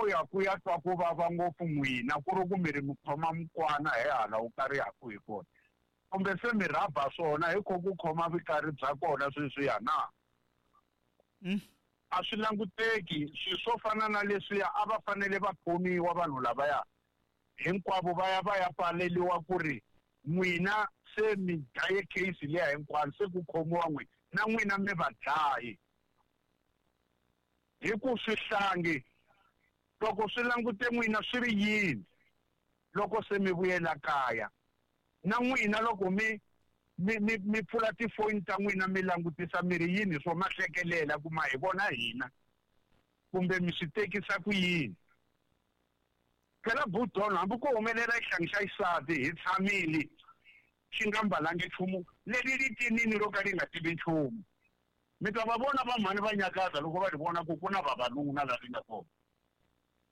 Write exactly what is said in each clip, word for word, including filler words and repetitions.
ya ku ya twa ku vava ngopfu n'wina ku ri ku mi ri mi khoma mukwana hi hala wu karihaku hi kona kumbe se mi rhaba swona hi kho ku khoma vukarhi bya kona sweswiya na Mm. a swi languteki swilo swo fana na leswiya a va fanele va khomiwa vanhu lavaya hinkwavo va ya va ya pfaleliwa ku ri n'wina se mi dlaye case liya hinkwayo se ku khomiwa n'wina na n'wina mi va dlayi hi ku swihlangi loko swi langute n'wina swi ri yini loko se mi vuyela kaya na n'wina loko mi mi mi mi pfula tifoni ta n'wina mi langutisa mi ri yini swo ma hlekelela ku ma hi vona hina kumbe mi swi tekisa ku yini phela budon hambi ko humelela xihlangi xa xisati hi tshamile xi nga mbalangi nchumu leri ri tinini ro ka ri nga tivi nchumu mi ta va vona vamhani va nyakaza loko va ri vona ku ku na vavanuna la ri nga kona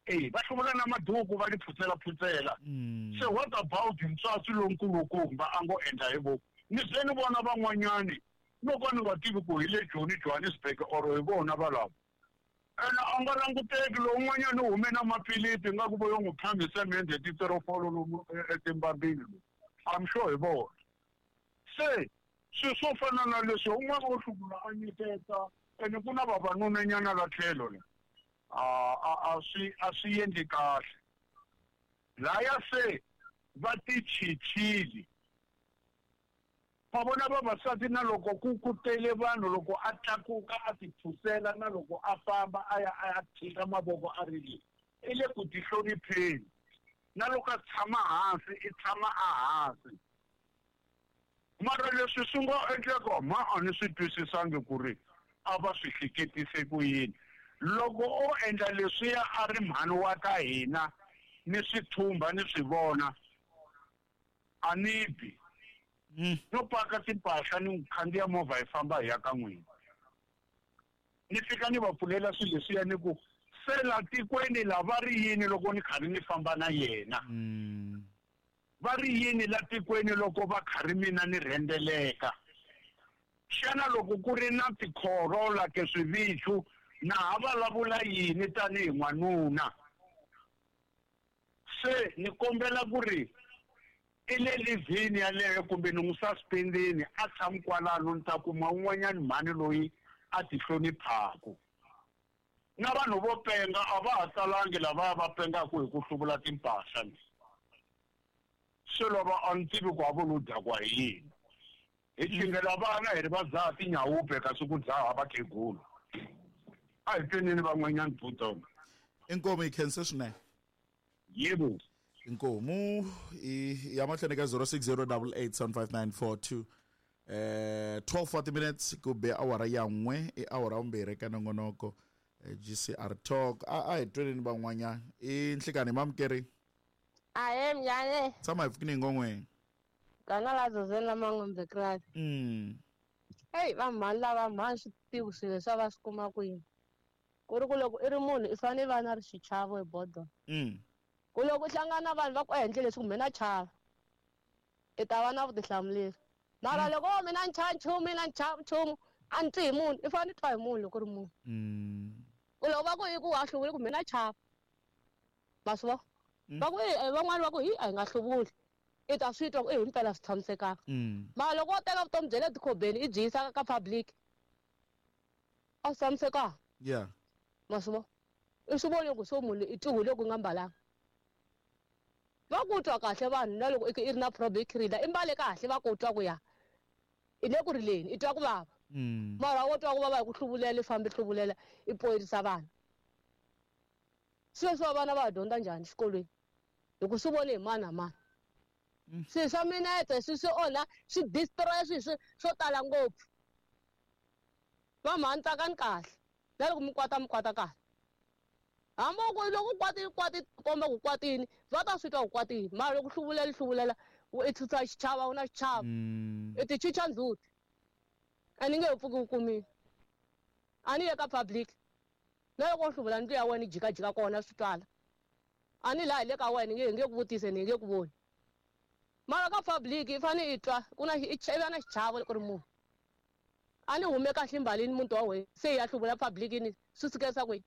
e va hluvula na maduku va ri phutsela phutsela Mm. se what about ntswatsi lonkulukumba a ngo endla hi voko ni ze ni vona van'wanyani loko ni nga tivi ku hi le Joni Johannesburg or hi vona valava ene a nga languteki lowun'wanyani u hume na maphilisi nga ku vo yo n'wi phami semende titerofolo lomu etimbambini lomu I'm sure hi vona se swilo swo fana na leswi un'wana wo hluvula a nyiketa ene ku na vavanunanyana la tlhelo la a a a swi a swi endli kahle laya se va tichichile va vona vavasati na loko ku ku tele vanhu loko a tlakuka a ti phusela na loko a famba a ya a ya tshika mavoko a ri le i le ku tihlonipheni na loko a tshama hansi i tshama a hansi mara leswi swi nga endleka ma a ni swi twisisangi ku ri a va swi hleketise ku yini loko o endla leswiya a ri mhani wa ka hina ni swi thumba ni swi vona a ni bi Mm. no paka timpahla ni khandziya movha hi famba hi ya ka n'wina ni fika ni va pfulela swilo leswiya ni ku se la tikweni la va ri yini loko ni karhi ni famba na yena Mm. va ri yini la tikweni loko va karhi mina ni rhendeleka xana loko ku ri na tikhorola ke swivichu na ha vulavula yini tanihi n'wanuna se ni kombela ku ri i le livhini yaleyo kumbe ni n'wi suspendini a tshami kwalano ni ta kuma un'wanyani mhani loyi a ti hloniphaku na vanhu vo penga a va ha talangi lavaya va pengaku hi ku hluvula timpahla ni se lava a ni tivi ku a vo lo dakwa hi yini hi chingela vana hi ri va dzaha tinyawupe kasi ku dzaha vakhegula a hi tweneni van'wanyani budona Inkomu hi khense swinene yebo inkomu i ya mahlweni ka zero six zero double eight seven five nine four two eh twelve forty minutes ku be awara ya n'we i awara vumbirhi ka nongonoko eh, G C R Talk a a hi tweneni van'wanyana i nhlikani mamukeri Ahe mnyane tshama hi pfukini ngongweni gana la zozeni la mangombe krasi mm heyi vamhani lava mhani swi tivi swilo leswi a va swi kuma kwini ku ri ku loko i ri munhu i fanele i va na ri xichavo hi bodo mm ku loko u hlangana na vanhu va ku endle leswi kumbe na chava i ta va na vutihlamuleri mara loko wo mina ni chava nchumu mina ni chava nchumu a ni twi hi munhu i fanele i twa hi munhu loko u ri munhu mm ku loko va ku i ku wa hluvuli kumbe na chava ma swi vona va ku i van'wani va ku hi a hi nga hluvuli i ta swi twa ku i himpela swi tshamisekanga mm mara loko wo teka vutomi bya le tikhobeni i byi yisa ka public a swi tshamisekanga yeah ma swi vona i swi voni ku so munhu i tihule ku nga mbalanga va ku twa kahle vanhu na loko i i ri na problem i khirila i mbale kahle va ku twa ku ya i le ku rileni i twa ku vava mm mara wo twa ku vava hi ku hluvulela i fambi hluvulela i poyirisa vanhu sweswi wa vana va ha dyondza njhani xikolweni hi ku swi vone hi mani na mani swilo swa minete swi swi onha swi destroy swilo swi swo tala ngopfu va mhani tsakani kahle na loko mi kwata mi kwata kahle hambi ku loko u kwatile kwati komba ku kwatini va ta swi twa ku kwatini mara loko hluvulela hluvulela i tshutsa xichava u na xichava mm i ti chicha ndzhuti a ni nge he pfuki u kumile a ni ye ka public na loko u hluvula ndlu ya wena i jikajika kona swi twala a ni laha hi le ka wena nge hi nge ku vutise ni nge ku voni mara ka public i fanele i twa ku na i i va na xichavo loko ri munhu a ni hume kahle mbalini muti wa wena se hi ya hluvula public ni swi sukelisa kwihi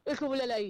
i hluvulela yini